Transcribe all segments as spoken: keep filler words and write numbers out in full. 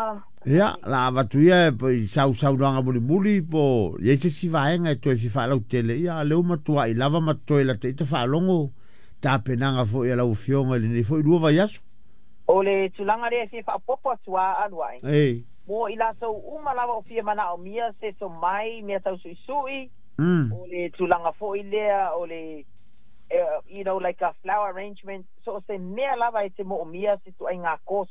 tulaga. Ia, la avatu ia e sausaunoaga mulimuli po o i ai se isi vaega e toe fia faalautele, ia lea ua matua'i lava ma toe lata ita faalogo tapenaga fo'i a lau afioga i lenei fo'i lua vaiaso. O le tulaga lea e fia faaopoopo atu a alu ai. Ei. Mo i latou uma lava o fia manaomia se tomai mea tausuisui, Mm. o le tulaga foi lea o le uh, you know like a flower arrangement, so o se mea lava e te moomia se tuaiga course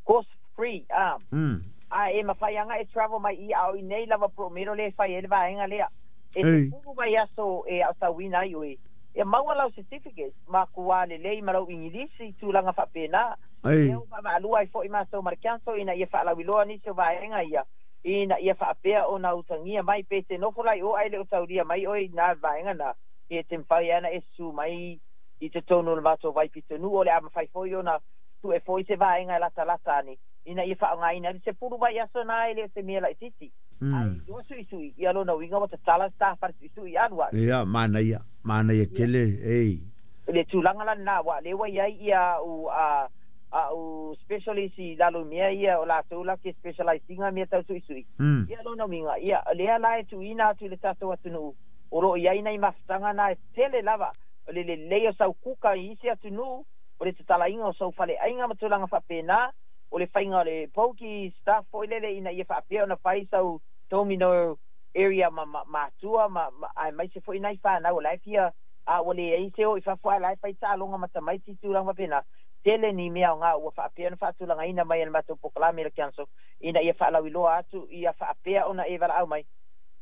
course free ah Mm. a e mafai aga e travel mai i ao i nei lava promero le fai e le vaega lea e Ei. sefulu vaiaso e aotauina ai oe ia maua lau certificate ma kua lelei ma lau Igilisi tulaga faapena. Ei. Lea ua vaavaalua ai fo'i matou ma le council ina ia faalauiloa nisi o vaega ia ina ia faapea ona utagia mai pe te nofo lai o ai le o taulia mai oe na vaega na ia te mafai ana e susu mai i totonu o le matou vaipitonu'u o le a mafai foi ona tu'e foi se vaega e latalata ane ina ia faaaogaina le sefulu vaiaso na e le o se mea laitiiti ai Mm. lua su'isu'i ia lona uiga ua tatala sa fale su'isu'i alu ai. Ia, manaia, manaia tele, ei. Le tulaga la lena ua lea ua iai ia u a a'u specialist i lalo i mea ia o latou la ke specialise ina mea tausu'isu'i. Mm. Ia lona uiga ia lea la e tu'uina atu i le tatou atunu'u o lo'o iai nai mafutaga na e tele lava o le lelei o sau kuka i isi atunuu o le tatalaina o sau faleaiga ma tulaga faapena o le faiga o le poki staff foi lele ina ia faapea ona fai sau domino area ma ma matua ma, ma aemaise foi nai fanau o la e fia a ua leai se o i fafo ae la e fai taaloga ma tamaiti tulaga faapena tele ni mea aogā ua faapea ona faatulagaina mai e le matou polokalame le council ina ia faalauiloa atu ia faapea ona e valaau mai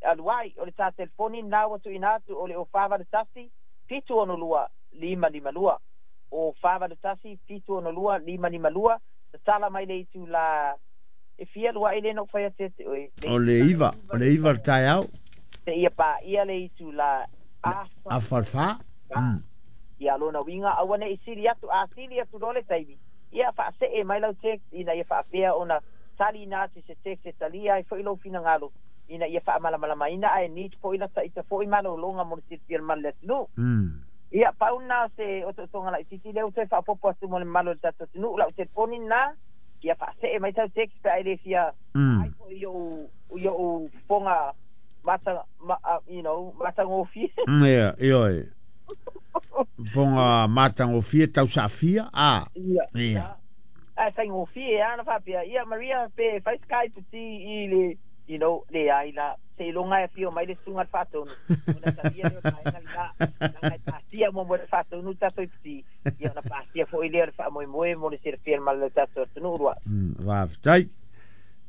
aluai o le tā telefoni na ua tuuina atu o le o fa valu tasi fitu ono lua lima lima lua o fa valu tasi fitu ono lua lima lima lua tatala mai le itulā e fia lua'i le no fai atu ia te oe le O le itulā iva, o le iva le taeao. Seia paia le itulā afa Afa le fa. Mm. Ia lona uiga aua ne'i sili atu a sili atu loa le taimi ia faase'e mai lau text ina ia faapea ona taliina atu i se text e talia ai fo'i lou finagalo ina ia faamalamalamaina ae need fo'i lata ita fo'i malologa mo le silafia le malu le atunuu. Mm. Ia pau lena o se otootoga laitiiti lea ua toe faaopoopo atu mo le mamalu o le tatou atunuu lau telefoni lena ia faase'e mai sau text pe a e lē fia Mm. ai fo'i i o'u i o'u fofoga mata ma, uh, you know matagofie. Mm, ia, ioe. Fofoga matagofie tausaafia a. Ia. Ia. Ae faigofie a na faapea ia Maria pe fai Skype ti i le you know leai la seiloga e afio mai le susuga le faatonu ona talia lea o le vaega lena laga e pasia muamua le faatonu tatou i piti ia ona pasia fo'i lea o le faamoemoe mo le silafia le mamalu o le tatou atunuu lua. Mm, faafetai.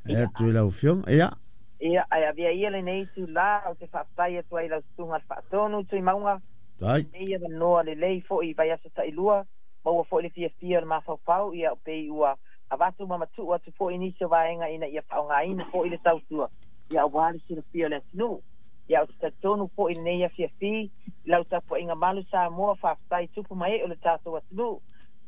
E Ia. atu i lau afioga. Ia. Ia ae avea ia lenei itulā o te faafetai atu ai lau susuga le faatonu Tuimauga Tai. nei avanoa lelei fo'i vaiaso ta'ilua maua fo'i le fiafia o le mafaufau ia pei ua avatu ma matu'u atu fo'i nisi o vaega ina ia faaaogaina fo'i le tautua ia auā le silafia o le atunuu ia o te talitonu fo'i lenei afiafi i lau tapua'iga malu Samoa faafetai tupu ma e'e o le tatou atunuu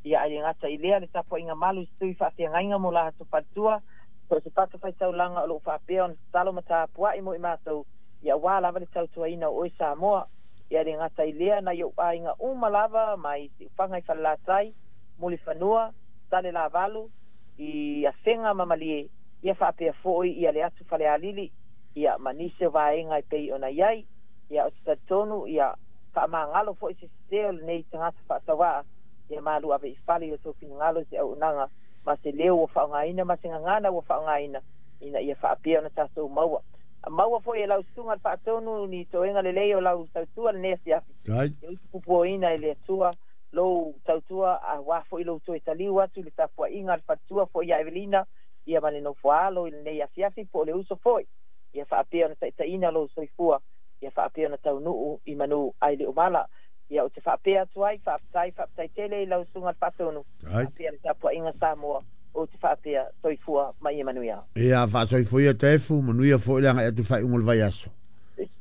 ia ae le gata i lea le tapua'iga malu i se tui faafeagaiga mo latou faletua so o se fata faitaulaga o lo'o faapea ona tatalo ma tapua'i mo i matou ia auā lava le tautuaina o oe Samoa ia le gata i lea nai o'u aiga uma lava mai Siufaga i Falelatai Mulifanua Salelavalu i Afega ma Malie ia faapea fo'i ia le atu Falealili ia ma nisi o vaega e pei ona iai ia o te talitonu ia faamagalo fo'i se sesē o lenei tagata faataua'a ia malu ave i fale i o tou finagalo i se auaunaga ma se leo ua faaaogaina ma se gagana ua faaaogaina ina ia faapea ona tatou maua maua fo'i e lau susuga le faatonu ni toega lelei o lau tautua lenei afiafi. Tai. Ia utupupuoina e le Atua lou tautua auā fo'i lou toe taliu atu i le tapua'iga a le faletua fo'i ia Evelina ia ma le nofoaalo i lenei afiafi po o le uso fo'i ia faapea ona ta'ita'iina lou soifua ia faapea ona taunu'u i manu ai le umala ia o te faapea atu ai faafetai faafetai tele i lau susuga le faatonu Tai. faapea le tapua'iga Samoa o te faapea soifua ma ia manuia. Ia, faasoifua ia Taefu, manuia fo'i le aga'i atu faaiuga o le vaiaso.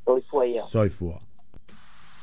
Soifua ia. Soifua.